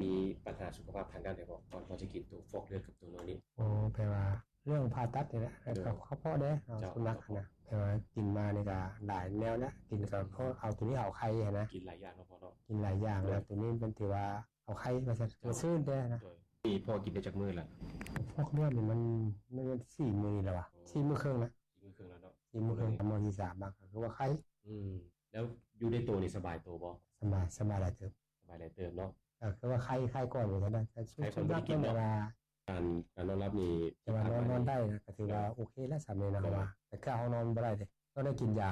ມີບັນຫາສຸຂະພາບທາງດ້ານໃດບໍ່ ກ່ອນທີ່ຈະກິນໂຕຟອກເລືອດກັບໂຕໂນນີ້? ໂອ້ ແປວ່າເລື່ອງຜ່າຕັດນີ້ແຫຼະ ເຈົ້າ ກໍພໍແດ່ ເອົາ ເຈົ້າ ສຸນັກຫັ້ນນະ ແປວ່າກິນມານີ້ກໍຫຼາຍແນວນະ ກິນກໍ ອືມ ພໍເອົາໂຕນີ້ເອົາໄຂ່ຫັ້ນນະ ກິນຫຼາຍຢ່າງເນາະພໍ່ເນາະ ກິນຫຼາຍຢ່າງ ແລ້ວໂຕນີ້ມັນຖືວ່າເອົາໄຂ່ວ່າຊັ້ນ ເຈົ້າ ມັນຊື່ນແດ່ນະ. ໂດຍ ນີ້ພໍ່ກິນໄດ້ຈັກມື້ລະ? ຟອກເລືອດນີ້ມັນ ມັນສີ່ມື້ນີ້ແລ້ວວະ ໂອ້ ສີ່ມື້ເຄິ່ງນະ ສີ່ມື້ເຄິ່ງແລ້ວເນາະ ສີ່ມື້ເຄິ່ງ ມື້ທີສາມມາກໍຄືວ່າໄຂ່. ອືມ ແລ້ວຢູ່ໃນໂຕນີ້ສະບາຍໂຕບໍ່? ສະບາຍ ສະບາຍຫຼາຍເຕີບ ສະບາຍຫຼາຍເຕີບເນາະ ກໍຄືວ່າໄຂ່ ໄຂ່ກ່ອນວ່າຊັ້ນນະ ໄຂ່ກ່ອນບໍ່ໄດ້ກິນເນາະ ການ ການນອນຫຼັບນີ້ ແຕ່ວ່ານອນ ນອນໄດ້ນະ ກໍຖືວ່າໂອເຄແລ້ວ ສ່ຳນີ້ນະ ເພາະວ່າແຕ່ເກົ່າເຮົານອນບໍ່ໄດ້ເດ້ ຕ້ອງໄດ້ກິນຢາ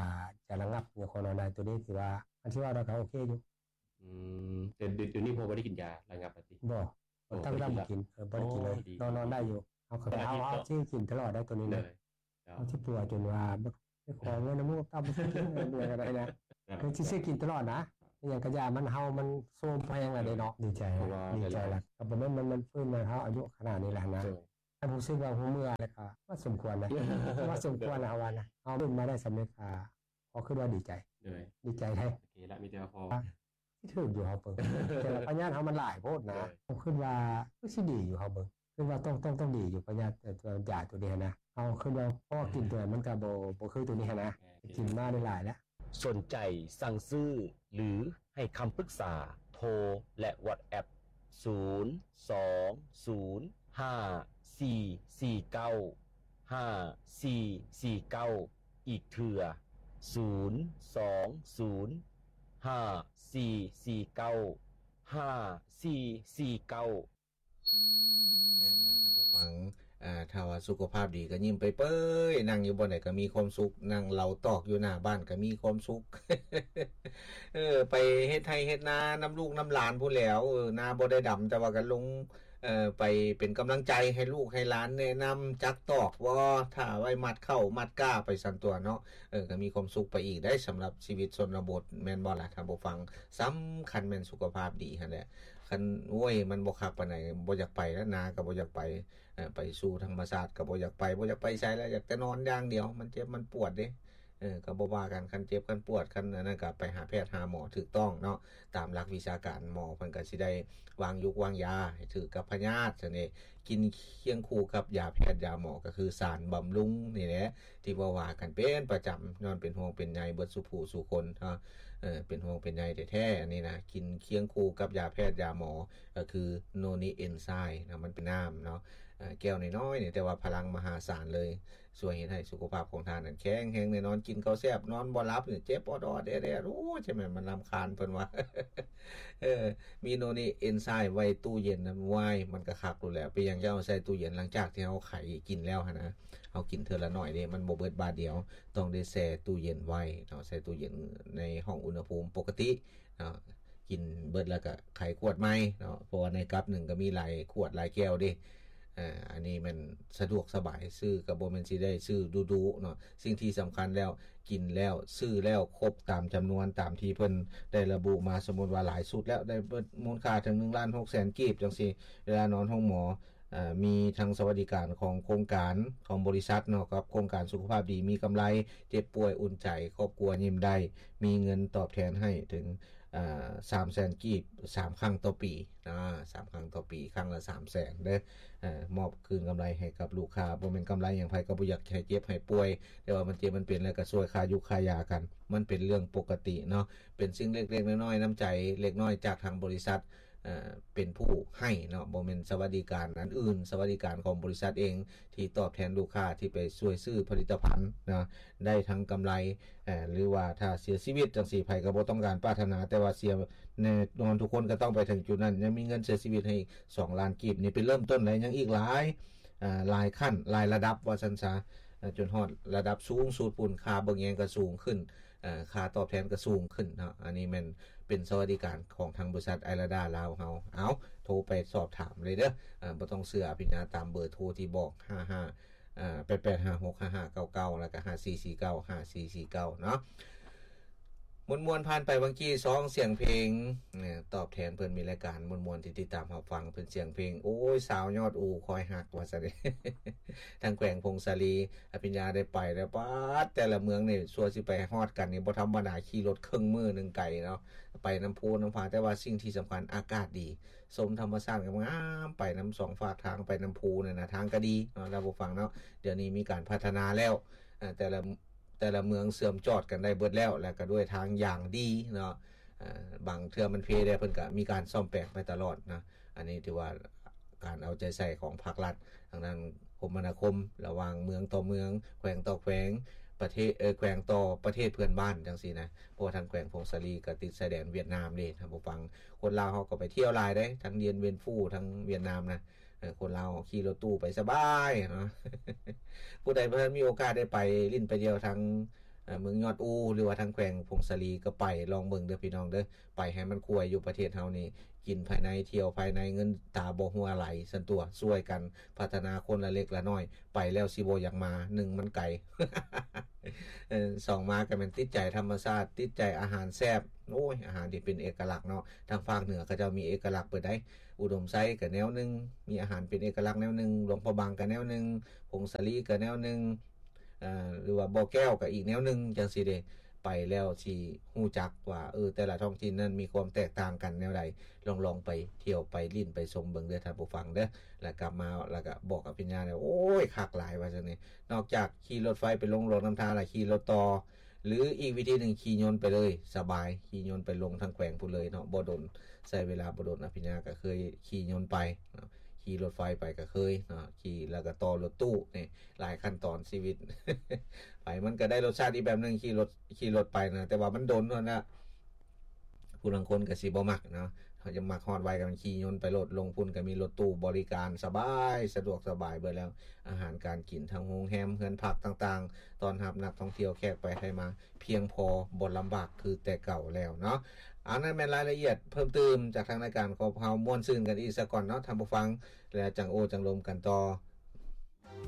ຢາລະງັບ ຍັງພໍນອນໄດ້ ໂຕນີ້ຖືວ່າ ອັນທີ່ວ່າໄດ້ກໍໂອເຄຢູ່. ອືມ ແຕ່ດຽວນີ້ພໍ່ບໍ່ໄດ້ກິນຢາລະງັບແລ້ວຕິ? ບໍ່ ບໍ່ ຕັ້ງແຕ່ບໍ່ກິນ ເອີ ບໍ່ໄດ້ກິນເລີຍ ອໍ ດີ ນອນ ນອນໄດ້ຢູ່ ເຮົາກໍ ເຮົາ ເຮົາຊິກິນຕະຫຼອດໄດ້ໂຕນີ້ນະ ເຮົາຊິປົວຈົນວ່າບໍ່ໄດ້ຂໍເງິນນຳໝູ່ກັບເຕົ້າ ບໍ່ຊິກິນເມື່ອໃດກໍໄດ້ນະ ຄືຊິຊື້ກິນຕະຫຼອດນະ ອີຫຍັງກະຢ່າ ມັນເຮົາມັນໂຊມແຮງແລ້ວເດ້ເນາະ. ດີໃຈ ດີໃຈລະ ກໍບໍ່ແມ່ນມັນ ມັນຟື້ນມາເຮົາອາຍຸຂະໜາດນີ້ແລ້ວນະ ກໍຮູ້ສຶກວ່າຮູ້ເມື່ອແລ້ວກໍວ່າສົມຄວນນະ ວ່າສົມຄວນນະ ເຮົາວ່ານະ ເຮົາເປັນມາໄດ້ສຳເລັດ ກໍ ກໍຄິດວ່າດີໃຈ ໂດຍ ດີໃຈເດ້ ໂອເຄລະ ມີແຕ່ວ່າພໍ ຊິຖືກຢູ່ເຮົາເບິ່ງ ແຕ່ວ່າພະຍາດເຮົາມັນຫຼາຍໂພດນະ ໂດຍ ເຮົາຄິດວ່າຄືຊິດີຢູ່ເຮົາເບິ່ງ ຄິດວ່າຕ້ອງ ຕ້ອງ ຕ້ອງດີຢູ່ພະຍາດ ເອີ ຢາໂຕນີ້ຫັ້ນນະ ເຮົາຄິດວ່າພໍກິນໂຕນັ້ນມັນກໍບໍ່ ບໍ່ຄືໂຕນີ້ຫັ້ນນະ ແມ່ນ ກິນມາໄດ້ຫຼາຍແລ້ວ. ສົນໃຈສັ່ງຊື້ ຫຼື ໃຫ້ຄຳປຶກສາ ໂທ ແລະ WhatsApp ສູນ ສອງ ສູນ ຫ້າ ສີ່ ສີ່ ເກົ້າ ຫ້າ ສີ່ ສີ່ ເກົ້າ ອີກເທື່ອ ສູນ ສອງ ສູນ ຫ້າ ສີ່ ສີ່ ເກົ້າ ຫ້າ ສີ່ ສີ່ ເກົ້າ. ແມ່ນແລ້ວທ່ານຜູ້ຟັງ ເອີ ຖ້າວ່າສຸຂະພາບດີກໍຍິ້ມເປີຍໆ ນັ່ງຢູ່ບ່ອນໃດກໍມີຄວາມສຸກ ນັ່ງເຫຼົ້າຕອກຢູ່ໜ້າບ້ານກໍມີຄວາມສຸກ ເອີ ໄປເຮັດໄຮ່ເຮັດນານຳລູກນຳຫຼານພຸ້ນແຫຼ້ວ ເອີ ນາບໍ່ໄດ້ດຳ ແຕ່ວ່າກໍລົງ ເອີ ໄປເປັນກຳລັງໃຈໃຫ້ລູກໃຫ້ຫຼານ ແນະນຳຈັກຕອກບໍ່ ຖ້າໄວ້ມັດເຂົ້າມັດກ້າໄປຊັ້ນຕົວະເນາະ ເອີ ກໍມີຄວາມສຸກໄປອີກໄດ໋ ສຳລັບຊີວິດຊົນນະບົດ ແມ່ນບໍ່ລະທ່ານຜູ້ຟັງ? ສຳຄັນແມ່ນສຸຂະພາບດີຫັ້ນແຫຼະ ຄັນ ໂອ້ຍ ມັນບໍ່ຄັກປານໃດ ບໍ່ຢາກໄປແລ້ວ ນາກໍບໍ່ຢາກໄປ ເອີ ໄປສູ່ທຳມະຊາດກໍບໍ່ຢາກໄປ ບໍ່ຢາກໄປໃສແລ້ວ ຢາກແຕ່ນອນຢ່າງດຽວ ມັນເຈັບມັນປວດເດ້ ເອີ ກໍບໍ່ວ່າກັນ ຄັນເຈັບຄັນປວດ ຄັນອັນນັ້ນກໍໄປຫາແພດຫາໝໍຖືກຕ້ອງເນາະ ຕາມຫຼັກວິຊາການ ໝໍເພິ່ນກໍຊິໄດ້ວາງຢູກວາງຢາໃຫ້ຖືກກັບພະຍາດຊັ້ນເດ ກິນຄຽງຄູ່ກັບຢາແພດຢາໝໍ ກໍຄືສານບຳລຸງນີ້ແຫຼະ ທີ່ເວົ້າວ່າກັນເປັນປະຈຳ ຍ້ອນເປັນຫ່ວງເປັນໃຍເບິດສູ່ຜູ້ສູ່ຄົນເນາະ ເອີ ເປັນຫ່ວງເປັນໃຍແທ້ໆ ອັນນີ້ນະ ກິນຄຽງຄູ່ກັບຢາແພດຢາໝໍ ກໍຄືໂນນິເອັນໄຊມ໌ເນາະ ມັນເປັນນ້ຳເນາະ ເອີ ແກ້ວນ້ອຍໆ ນີ້ ແຕ່ວ່າພະລັງມະຫາສານເລີຍ ຊ່ວຍເຮັດໃຫ້ສຸຂະພາບຂອງທ່ານນັ້ນແຂງແຮງແນ່ນອນ ກິນເຂົ້າແຊບ ນອນບໍ່ຫຼັບ ເຈັບອອດໆແອດໆ ໂອ້ຍ ຈະແມ່ນມັນລຳຄານ ເພິ່ນວ່າ ເອີ ມີໂນນິເອັນໄຊມ໌ໄວ້ຕູ້ເຢັນນຳ ວ້າຍ ມັນກໍຄັກໂລດແຫຼະ ເປັນຫຍັງຈະເອົາໃສ່ຕູ້ເຢັນ ຫຼັງຈາກທີ່ເຮົາໄຂກິນແລ້ວຫັ້ນນະ ເຮົາກິນເທື່ອລະໜ້ອຍເດ້ ມັນບໍ່ເບິດບາດດຽວ ຕ້ອງໄດ້ແຊ່ຕູ້ເຢັນໄວ້ເນາະ ແຊ່ຕູ້ເຢັນໃນຫ້ອງອຸນຫະພູມປົກກະຕິເນາະ ກິນເບິດແລ້ວກໍໄຂຂວດໃໝ່ເນາະ ເພາະວ່າໃນກັບໜຶ່ງກໍມີຫຼາຍຂວດຫຼາຍແກ້ວເດ້ ເອີ ອັນນີ້ແມ່ນສະດວກສະບາຍ ຊື້ກໍບໍ່ແມ່ນຊິໄດ້ຊື້ດຸໆເນາະ ສິ່ງທີ່ສຳຄັນແລ້ວ ກິນແລ້ວ ຊື້ແລ້ວຄົບຕາມຈຳນວນຕາມທີ່ເພິ່ນໄດ້ລະບຸມາ ສົມມຸດວ່າຫຼາຍຊຸດແລ້ວ ໄດ້ເບິດມູນຄ່າເຖິງໜຶ່ງລ້ານຫົກແສນກີບຈັ່ງຊີ້ ເວລານອນໂຮງໝໍ ເອີ ມີທັງສະຫວັດດີການຂອງໂຄງການຂອງບໍລິສັດເນາະ ກັບໂຄງການສຸຂະພາບດີມີກຳໄລ ເຈັບປ່ວຍອຸ່ນໃຈ ຄອບຄົວຍິ້ມໄດ້ ມີເງິນຕອບແທນໃຫ້ເຖິງ ເອີ ສາມແສນກີບ ສາມຄັ້ງຕໍ່ປີ ອາ ສາມຄັ້ງຕໍ່ປີ ຄັ້ງລະສາມແສນເດີ ເອີ ມອບຄືນກຳໄລໃຫ້ກັບລູກຄ້າ ບໍ່ແມ່ນກຳໄລຫຍັງ ໃຜກໍບໍ່ຢາກໃຫ້ເຈັບໃຫ້ປ່ວຍ ແຕ່ວ່າມັນເຈັບມັນເປັນແລ້ວກໍຊ່ວຍຄ່າຢູ່ຄ່າຢາກັນ ມັນເປັນເລື່ອງປົກກະຕິເນາະ ເປັນສິ່ງເລັກໆນ້ອຍໆ ນ້ຳໃຈເລັກນ້ອຍຈາກທາງບໍລິສັດ ເອີ ເປັນຜູ້ໃຫ້ເນາະ ບໍ່ແມ່ນສະຫວັດດີການອັນອື່ນ ສະຫວັດດີການຂອງບໍລິສັດເອງ ທີ່ຕອບແທນລູກຄ້າທີ່ໄປຊ່ວຍຊື້ຜະລິດຕະພັນເນາະ ໄດ້ທັງກຳໄລ ເອີ ຫຼືວ່າຖ້າເສຍຊີວິດຈັ່ງຊີ້ ໃຜກໍບໍ່ຕ້ອງການປາດຖະໜາ ແຕ່ວ່າເສຍແນ່ນອນ ທຸກຄົນກໍຕ້ອງໄປເຖິງຈຸດນັ້ນ ຍັງມີເງິນເສຍຊີວິດໃຫ້ອີກສອງລ້ານກີບ ນີ້ເປັນເລີ່ມຕົ້ນໄດ໋ ຍັງອີກຫຼາຍ ເອີ ຫຼາຍຂັ້ນ ຫຼາຍລະດັບວ່າຊັ້ນຊະ ເອີ ຈົນຮອດລະດັບສູງສຸດພຸ້ນ ຄ່າເບິ່ງແຍງກໍສູງຂຶ້ນ ເອີ ຄ່າຕອບແທນກໍສູງຂຶ້ນເນາະ ອັນນີ້ແມ່ນເປັນສະຫວັດດີການຂອງທາງບໍລິສັດໄອລາດາລາວເຮົາ ເອົາ ໂທໄປສອບຖາມເລີຍເດີ ເອີ ບໍ່ຕ້ອງເຊື່ອອະພິນຍາ ຕາມເບີໂທທີ່ບອກ ຫ້າຫ້າ ເອີ ແປດແປດຫ້າຫົກຫ້າຫ້າເກົ້າເກົ້າ ແລ້ວກໍ ຫ້າສີ່ສີ່ເກົ້າ ຫ້າສີ່ສີ່ເກົ້າ ເນາະ ເ ມ່ວນໆ ຜ່ານໄປຫວ່າງກີ້ ສອງສຽງເພງ ເອີ ຕອບແທນເພິ່ນ ມີລາຍການມ່ວນໆ ທີ່ຕິດຕາມຮັບຟັງ ເປັນສຽງເພງ ໂອ້ຍ ສາວຍອດອູ ຄອຍຮັກ ວ່າຊັ້ນເດ ທາງແຂວງຜົ້ງສາລີ ອະພິນຍາໄດ້ໄປແລ້ວ ປາດ ແຕ່ລະເມືອງນີ້ ຊົ່ວຊິໄປຮອດກັນນີ້ ບໍ່ທຳມະດາ ຂີ່ລົດເຄິ່ງມື້ໜຶ່ງໄກເນາະ ໄປນຳພູນຳຜາ ແຕ່ວ່າສິ່ງທີ່ສຳຄັນ ອາກາດດີ ຊົມທຳມະຊາດງາມໆ ໄປນຳສອງຟາກທາງ ໄປນຳພູນັ້ນນະ ທາງກໍດີເນາະ ທ່ານຜູ້ຟັງເນາະ ດຽວນີ້ມີການພັດທະນາແລ້ວ ເອີ ແຕ່ລະ ແຕ່ລະເມືອງເຊື່ອມຈອດກັນໄດ້ເບິດແລ້ວ ແລະ ກໍດ້ວຍທາງຢ່າງດີເນາະ ເອີ ບາງເທື່ອມັນເພແດ່ ເພິ່ນກໍມີການສ້ອມແປງໄປຕະຫຼອດນະ ອັນນີ້ຖືວ່າການເອົາໃຈໃສ່ຂອງພາກລັດ ທາງດ້ານຄົມມະນາຄົມ ລະຫວ່າງເມືອງຕໍ່ເມືອງ ແຂວງຕໍ່ແຂວງ ປະເທດ ເອີ ແຂວງຕໍ່ປະເທດເພື່ອນບ້ານຈັ່ງຊີ້ນະ ເພາະວ່າທາງແຂວງຜົ້ງສາລີກໍຕິດຊາຍແດນຫວຽດນາມເດ້ ທ່ານຜູ້ຟັງ ຄົນລາວເຮົາກໍໄປທ່ຽວຫຼາຍເດ້ ທັງດຽນ ວຽນຟູ ທັງຫວຽດນາມນະ ເອີ ຄົນລາວຂີ່ລົດຕູ້ໄປສະບາຍເນາະ ຜູ້ໃດບໍ່ທັນມີໂອກາດໄດ້ໄປຫຼິ້ນໄປທ່ຽວທາງ ເອີ ເມືອງຍອດອູ ຫຼືວ່າທາງແຂວງຜົ້ງສາລີ ກໍໄປລອງເບິ່ງເດີພີ່ນ້ອງເດີ ໄປໃຫ້ມັນກວາຍ ຢູ່ປະເທດເຮົານີ້ ກິນພາຍໃນ ທ່ຽວພາຍໃນ ເງິນຕາບໍ່ຮົ່ວໄຫຼ ຊັ້ນຕົວະ ຊ່ວຍກັນພັດທະນາຄົນລະເລັກລະນ້ອຍ ໄປແລ້ວຊິບໍ່ຢາກມາ ໜຶ່ງ ມັນໄກ ເອີ ສອງ ມາກໍແມ່ນຕິດໃຈທຳມະຊາດ ຕິດໃຈອາຫານແຊບ ໂອ້ຍ ອາຫານທີ່ເປັນເອກະລັກເນາະ ທາງພາກເໜືອເຂົາເຈົ້າມີເອກະລັກເບິດໃດ໋ ອຸດົມໄຊກໍແນວໜຶ່ງ ມີອາຫານເປັນເອກະລັກແນວໜຶ່ງ ຫຼວງພະບາງກໍແນວໜຶ່ງ ຜົ້ງສາລີກໍແນວໜຶ່ງ ເອີ ຫຼືວ່າບໍ່ແກ້ວກໍອີກແນວໜຶ່ງຈັ່ງຊີ້ເດ້ ໄປແລ້ວຊິຮູ້ຈັກວ່າ ເອີ ແຕ່ລະທ້ອງຖິ່ນນັ້ນມີຄວາມແຕກຕ່າງກັນແນວໃດ ລອງໆ ໄປທ່ຽວໄປຫຼິ້ນໄປຊົມເບິ່ງເດີທ່ານຜູ້ຟັງເດີ ແລ້ວກັບມາ ແລ້ວກໍບອກອະພິນຍາແລ້ວ ໂອ້ຍ ຄັກຫຼາຍວ່າຊັ້ນນີ້ ນອກຈາກຂີ່ລົດໄຟໄປລົງຫຼວງນ້ຳທາ ແລ້ວຂີ່ລົດຕໍ່ ຫຼືອີກວິທີໜຶ່ງ ຂີ່ຍົນໄປເລີຍ ສະບາຍ ຂີ່ຍົນໄປລົງທາງແຂວງພຸ້ນເລີຍເນາະ ບໍ່ດົນ ໃຊ້ເວລາບໍ່ດົນ ອະພິນຍາກໍເຄີຍຂີ່ຍົນໄປເນາະ ຂີ່ລົດໄຟໄປກໍເຄີຍເນາະ ຂີ່ແລ້ວກໍຕໍ່ລົດຕູ້ນີ້ ຫຼາຍຂັ້ນຕອນຊີວິດ ໄປມັນກໍໄດ້ລົດຊາດອີກແບບໜຶ່ງ ຂີ່ລົດ ຂີ່ລົດໄປນະ ແຕ່ວ່າມັນດົນເທົ່ານັ້ນນະ ຜູ້ລາງຄົນກໍຊິບໍ່ມັກເນາະ ເຮົາຈະມັກຮອດໄວກໍແມ່ນຂີ່ຍົນໄປໂລດ ລົງພຸ້ນກໍມີລົດຕູ້ບໍລິການສະບາຍ ສະດວກສະບາຍເບິດແລ້ວ ອາຫານການກິນ ທັງໂຮງແຮມ ເຮືອນພັກຕ່າງໆ ຕ້ອນຮັບນັກທ່ອງທ່ຽວ ແຂກໄປໄທມາ ພຽງພໍ ບໍ່ລຳບາກຄືແຕ່ເກົ່າແລ້ວເນາະ. ອັນນັ້ນແມ່ນລາຍລະອຽດເພີ່ມຕື່ມຈາກທາງລາຍການຂອງເຮົາ ມ່ວນຊື່ນກັນອີກສາກ່ອນເນາະທ່ານຜູ້ຟັງ ແລ້ວຈັ່ງໂອ້ຈັ່ງລົມກັນຕໍ່.